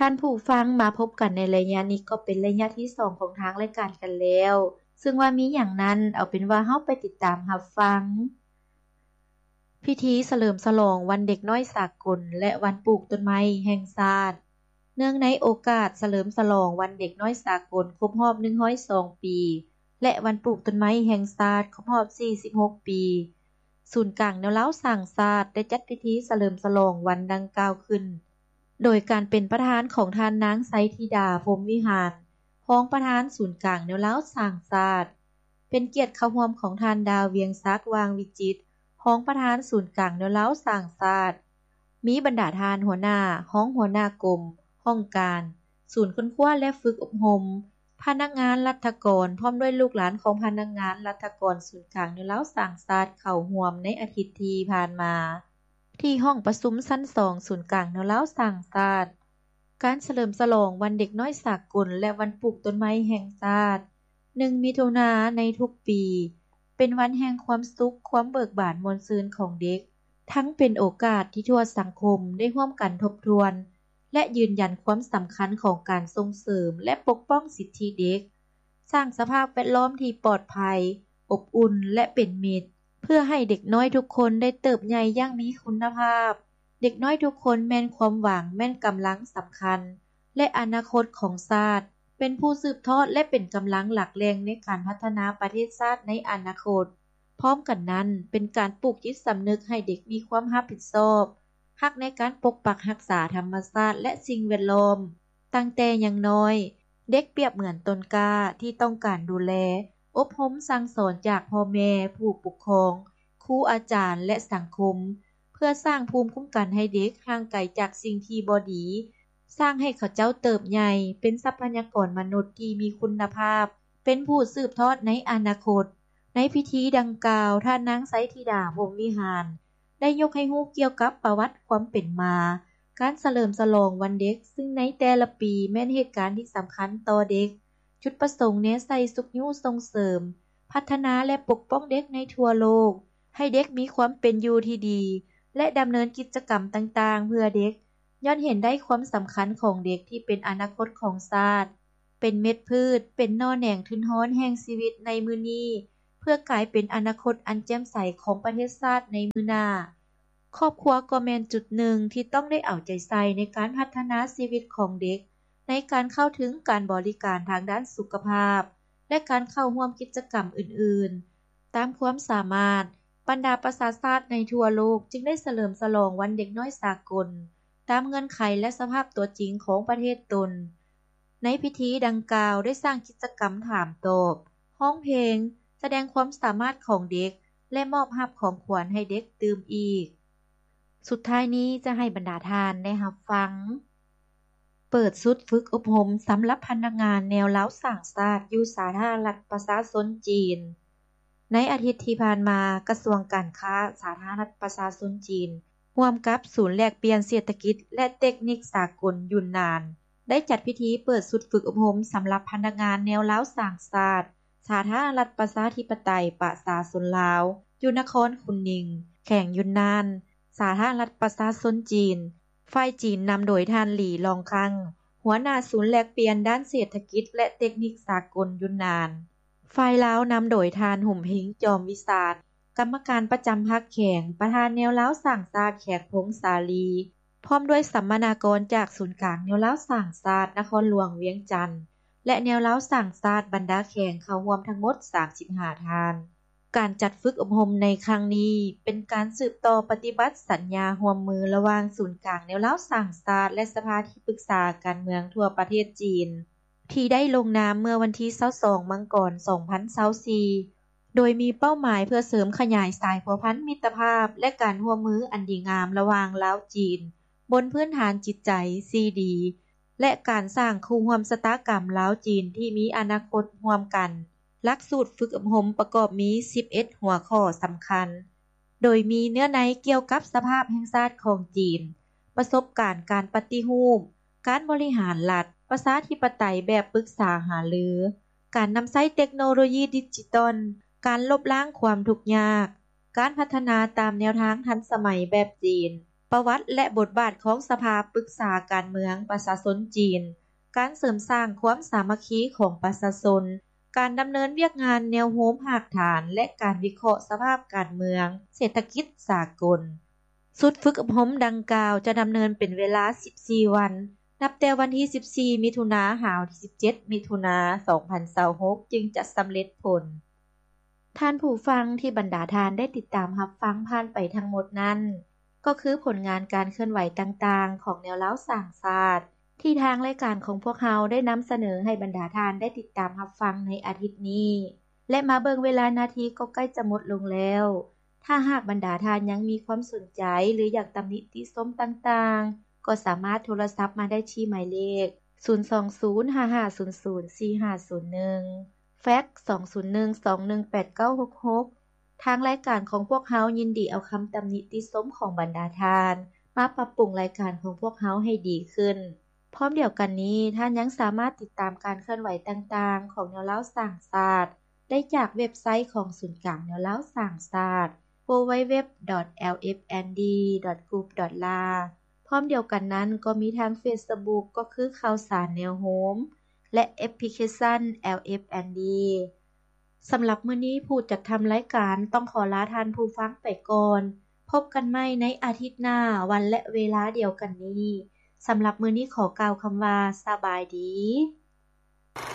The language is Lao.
ທ່ານຜູ້ຟັງ, ມາພົບກັນໃນໄລຍະນີ້ກໍເປັນໄລຍະທີສອງຂອງທາງລາຍການກັນແລ້ວ, ເຊິ່ງວ່າມີຫຍັງນັ້ນ, ເອົາເປັນວ່າເຮົາໄປຕິດຕາມຮັບຟັງ. ພິທີສະເຫຼີມສະຫຼອງວັນເດັກນ້ອຍສາກົນ ແລະ ວັນປູກຕົ້ນໄມ້ແຫ່ງຊາດ. ເນື່ອງໃນໂອກາດສະເຫຼີມສະຫຼອງວັນເດັກນ້ອຍສາກົນຄົບຮອບໜຶ່ງຮ້ອຍສອງປີ ແລະ ວັນປູກຕົ້ນໄມ້ແຫ່ງຊາດຄົບຮອບສີ່ສິບຫົກປີ, ສູນກາງແນວລາວສ້າງຊາດໄດ້ຈັດພິທີສະເຫຼີມສະຫຼອງວັນດັ່ງກ່າວຂຶ້ນ ໂດຍການເປັນປະທານຂອງທ່ານນາງ ໄຊທິດາ ພົມວິຫານ, ຮອງປະທານສູນກາງແນວລາວສ້າງຊາດ, ເປັນກຽດເຂົ້າຮ່ວມຂອງທ່ານ ດາວ ວຽງສັກ ຫວ່າງວິຈິດ, ຮອງປະທານສູນກາງແນວລາວສ້າງຊາດ, ມີບັນດາທ່ານຫົວໜ້າ, ຮອງຫົວໜ້າກົມ, ຫ້ອງການ, ສູນຄົ້ນຄວ້າ ແລະ ຝຶກອົບຮົມ, ພະນັກງານລັດຖະກອນ ພ້ອມດ້ວຍລູກຫຼານຂອງພະນັກງານລັດຖະກອນສູນກາງແນວລາວສ້າງຊາດ ເຂົ້າຮ່ວມໃນອາທິດທີ່ຜ່ານມາ ທີ່ຫ້ອງປະຊຸມຊັ້ນສອງສູນກາງແນວລາວສ້າງຊາດ. ການສະເຫຼີມສະຫຼອງວັນເດັກນ້ອຍສາກົນ ແລະ ວັນປູກຕົ້ນໄມ້ແຫ່ງຊາດ ໜຶ່ງມິຖຸນາໃນທຸກປີ ເປັນວັນແຫ່ງຄວາມສຸກ, ຄວາມເບີກບານມ່ວນຊື່ນຂອງເດັກ, ທັງເປັນໂອກາດທີ່ທົ່ວສັງຄົມໄດ້ຮ່ວມກັນທົບທວນ ແລະ ຢືນຢັນຄວາມສຳຄັນຂອງການສົ່ງເສີມ ແລະ ປົກປ້ອງສິດທິເດັກ, ສ້າງສະພາບແວດລ້ອມທີ່ປອດໄພ, ອົບອຸ່ນ ແລະ ເປັນມິດ, ເພື່ອໃຫ້ເດັກນ້ອຍທຸກຄົນໄດ້ເຕີບໃຫຍ່ຢ່າງມີຄຸນນະພາບ. ເດັກນ້ອຍທຸກຄົນແມ່ນຄວາມຫວັງ, ແມ່ນກຳລັງສຳຄັນ ແລະ ອະນາຄົດຂອງຊາດ, ເປັນຜູ້ສືບທອດ ແລະ ເປັນກຳລັງຫຼັກແຫຼ່ງໃນການພັດທະນາປະເທດຊາດໃນອະນາຄົດ. ພ້ອມກັນນັ້ນ, ເປັນການປູກຈິດສຳນຶກໃຫ້ເດັກມີຄວາມຮັບຜິດຊອບ, ຮັກໃນການປົກປັກຮັກສາທຳມະຊາດ ແລະ ສິ່ງແວດລ້ອມ. ຕັ້ງແຕ່ຍັງນ້ອຍ, ເດັກປຽບເໝືອນຕົ້ນກ້າທີ່ຕ້ອງການດູແລ, ອົບຮົມສັ່ງສອນຈາກພໍ່ແມ່, ຜູ້ປົກຄອງ, ຄູອາຈານ ແລະ ສັງຄົມ, ເພື່ອສ້າງພູມຄຸ້ມກັນໃຫ້ເດັກຫ່າງໄກຈາກສິ່ງທີ່ບໍ່ດີ, ສ້າງໃຫ້ເຂົາເຈົ້າເຕີບໃຫຍ່ເປັນຊັບພະຍາກອນມະນຸດທີ່ມີຄຸນນະພາບ, ເປັນຜູ້ສືບທອດໃນອະນາຄົດ. ໃນພິທີດັ່ງກ່າວ, ທ່ານນາງ ໄຊທິດາ ພົມວິຫານ ໄດ້ຍົກໃຫ້ຮູ້ກ່ຽວກັບປະຫວັດຄວາມເປັນມາ, ການສະເຫຼີມສະຫຼອງວັນເດັກ, ຊຶ່ງໃນແຕ່ລະປີແມ່ນເຫດການທີ່ສຳຄັນຕໍ່ເດັກ. ຈຸດປະສົງແນໃສ່ຊຸກຍູ້ສົ່ງເສີມ, ພັດທະນາ ແລະ ປົກປ້ອງເດັກໃນທົ່ວໂລກ, ໃຫ້ເດັກມີຄວາມເປັນຢູ່ທີ່ດີ ແລະ ດຳເນີນກິດຈະກຳຕ່າງໆເພື່ອເດັກ, ຍ້ອນເຫັນໄດ້ຄວາມສຳຄັນຂອງເດັກທີ່ເປັນອະນາຄົດຂອງຊາດ, ເປັນເມັດພືດ, ເປັນໜໍ່ແໜງທຶນຮອນແຫ່ງຊີວິດໃນມື້ນີ້, ເພື່ອກາຍເປັນອະນາຄົດອັນແຈ່ມໃສຂອງປະເທດຊາດໃນມື້ໜ້າ. ຄອບຄົວກໍແມ່ນຈຸດໜຶ່ງທີ່ຕ້ອງໄດ້ເອົາໃຈໃສ່ໃນການພັດທະນາຊີວິດຂອງເດັກ, ໃນການເຂົ້າເຖິງການບໍລິການທາງດ້ານສຸຂະພາບ ແລະ ການເຂົ້າຮ່ວມກິດຈະກຳອື່ນໆ. ຕາມຄວາມສາມາດ, ບັນດາປະຊາຊາດໃນທົ່ວໂລກຈຶ່ງໄດ້ສະເຫຼີມສະຫຼອງວັນເດັກນ້ອຍສາກົນ ຕາມເງື່ອນໄຂ ແລະ ສະພາບຕົວຈິງຂອງປະເທດຕົນ. ໃນພິທີດັ່ງກ່າວໄດ້ສ້າງກິດຈະກຳຖາມຕອບ, ຮ້ອງເພງ, ສະແດງຄວາມສາມາດຂອງເດັກ ແລະ ມອບຮັບຂອງຂວັນໃຫ້ເດັກຕື່ມອີກ. ສຸດທ້າຍນີ້ຈະໃຫ້ບັນດາທ່ານໄດ້ຮັບຟັງ ເປີດຊຸດຝຶກອົບຮົມສຳລັບພະນັກງານແນວລາວສ້າງຊາດຢູ່ສາທາລະນະລັດປະຊາຊົນຈີນ. ໃນອາທິດທີ່ຜ່ານມາ, ກະຊວງການຄ້າສາທາລະນະລັດປະຊາຊົນຈີນ ຮ່ວມກັບສູນແລກປ່ຽນເສດຖະກິດ ແລະ ເຕັກນິກສາກົນຢູນນານ ໄດ້ຈັດພິທີເປີດຊຸດຝຶກອົບຮົມສຳລັບພະນັກງານແນວລາວສ້າງຊາດ ສາທາລະນະລັດປະຊາທິປະໄຕປະຊາຊົນລາວ ຢູ່ນະຄອນຄຸນນິງ, ແຂວງຍຸນນານ, ສາທາລະນະລັດປະຊາຊົນຈີນ. ຝ່າຍຈີນນຳໂດຍທ່ານ ຫຼີ ລອງຄັງ, ຫົວໜ້າສູນແລກປ່ຽນດ້ານເສດຖະກິດ ແລະ ເຕັກນິກສາກົນຢູນນານ. ຝ່າຍລາວນຳໂດຍທ່ານ ຫຸມເພັງ ຈອມວິສານ, ກຳມະການປະຈຳພັກແຂວງ, ປະທານແນວລາວສ້າງຊາດແຂກ ພົງສາລີ, ພ້ອມດ້ວຍສຳມະນາກອນຈາກສູນກາງແນວລາວສ້າງຊາດນະຄອນຫຼວງວຽງຈັນ ແລະ ແນວລາວສ້າງຊາດບັນດາແຂວງເຂົ້າຮ່ວມທັງໝົດສາມສິບຫ້າທ່ານ. ການຈັດຝຶກອົບຮົມໃນຄັ້ງນີ້ ເປັນການສືບຕໍ່ປະຕິບັດສັນຍາຮ່ວມມືລະຫວ່າງສູນກາງແນວລາວສ້າງຊາດ ແລະ ສະພາທີ່ປຶກສາການເມືອງທົ່ວປະເທດຈີນ ທີ່ໄດ້ລົງນາມເມື່ອວັນທີຊາວສອງ ມັງກອນ ສອງພັນຊາວສີ່ ໂດຍມີເປົ້າໝາຍເພື່ອເສີມຂະຫຍາຍສາຍພົວພັນມິດຕະພາບ ແລະ ການຮ່ວມມືອັນດີງາມລະຫວ່າງລາວ-ຈີນ ບົນພື້ນຖານຈິດໃຈທີ່ດີ ແລະ ການສ້າງຄູ່ຮ່ວມຊະຕາກຳລາວ-ຈີນທີ່ມີອະນາຄົດຮ່ວມກັນ. ຫຼັກສູດຝຶກອົບຮົມປະກອບມີສິບເອັດຫົວຂໍ້ສຳຄັນ, ໂດຍມີເນື້ອໃນກ່ຽວກັບສະພາບແຫ່ງຊາດຂອງຈີນ, ປະສົບການການປະຕິຮູບ, ການບໍລິຫານລັດ, ປະຊາທິປະໄຕແບບປຶກສາຫາລື, ການນຳໃຊ້ເຕັກໂນໂລຢີດິຈິຕອນ, ການລົບລ້າງຄວາມທຸກຍາກ, ການພັດທະນາຕາມແນວທາງທັນສະໄໝແບບຈີນ, ປະຫວັດ ແລະ ບົດບາດຂອງສະພາປຶກສາການເມືອງປະຊາຊົນຈີນ, ການເສີມສ້າງຄວາມສາມັກຄີຂອງປະຊາຊົນ, ການດຳເນີນວຽກງານແນວໂຮມຮາກຖານ ແລະ ການວິເຄາະສະພາບການເມືອງ, ເສດຖະກິດສາກົນ. ຊຸດຝຶກອົບຮົມດັ່ງກ່າວຈະດຳເນີນເປັນເວລາສິບສີ່ວັນ, ນັບແຕ່ວັນທີສິບສີ່ ມິຖຸນາ ຫາວັນທີສິບເຈັດ ມິຖຸນາ ສອງພັນຊາວຫົກ ຈຶ່ງຈະສຳເລັດຜົນ. ທ່ານຜູ້ຟັງທີ່ບັນດາທ່ານໄດ້ຕິດຕາມຮັບຟັງຜ່ານໄປທັງໝົດນັ້ນ ກໍຄືຜົນງານການເຄື່ອນໄຫວຕ່າງໆຂອງແນວລາວສ້າງຊາດ ທີ່ທາງລາຍການຂອງພວກເຮົາໄດ້ນຳສະເໜີໃຫ້ບັນດາທ່ານໄດ້ຕິດຕາມຮັບຟັງໃນອາທິດນີ້ ແລະ ມາເບິ່ງເວລານາທີກໍໃກ້ຈະໝົດລົງແລ້ວ. ຖ້າຫາກບັນດາທ່ານຍັງມີຄວາມສົນໃຈ ຫຼື ຢາກຕຳໜິຕິຊົມຕ່າງໆ ກໍສາມາດໂທລະສັບມາໄດ້ທີ່ໝາຍເລກ ສູນສອງສູນ ຫ້າຫ້າສູນສູນ ສີ່ຫ້າສູນໜຶ່ງ, ແຟັກ ສອງສູນໜຶ່ງ ສອງໜຶ່ງແປດ ເກົ້າຫົກຫົກ. ທາງລາຍການຂອງພວກເຮົາຍິນດີເອົາຄຳຕຳໜິຕິຊົມຂອງບັນດາທ່ານ ມາປັບປຸງລາຍການຂອງພວກເຮົາໃຫ້ດີຂຶ້ນ. ພ້ອມດຽວກັນນີ້, ທ່ານຍັງສາມາດຕິດຕາມການເຄື່ອນໄຫວຕ່າງໆຂອງແນວລາວສ້າງຊາດ ໄດ້ຈາກເວັບໄຊຂອງສູນກາງແນວລາວສ້າງຊາດ ดัບເບິນຢູດັບເບິນຢູດັບເບິນຢູດັບເບິນຢູ ດອດ ແອລເອັຟແອນດີ ດອດ ກຣຸບ ດອດ ລາວ. ພ້ອມດຽວກັນນັ້ນກໍມີທາງເຟສບຸກ ກໍຄືຂ່າວສານແນວໂຮມ ແລະ ແອັບພລິເຄຊັນ ແອລເອັຟແອນດີ. ສຳລັບມື້ນີ້ ຜູ້ຈັດທຳລາຍການຕ້ອງຂໍລາທ່ານຜູ້ຟັງໄປກ່ອນ. ພົບກັນໃໝ່ໃນອາທິດໜ້າ ວັນ ແລະ ເວລາດຽວກັນນີ້. ສຳລັບມື້ນີ້ຂໍກ່າວຄຳວ່າ ສະບາຍດີ.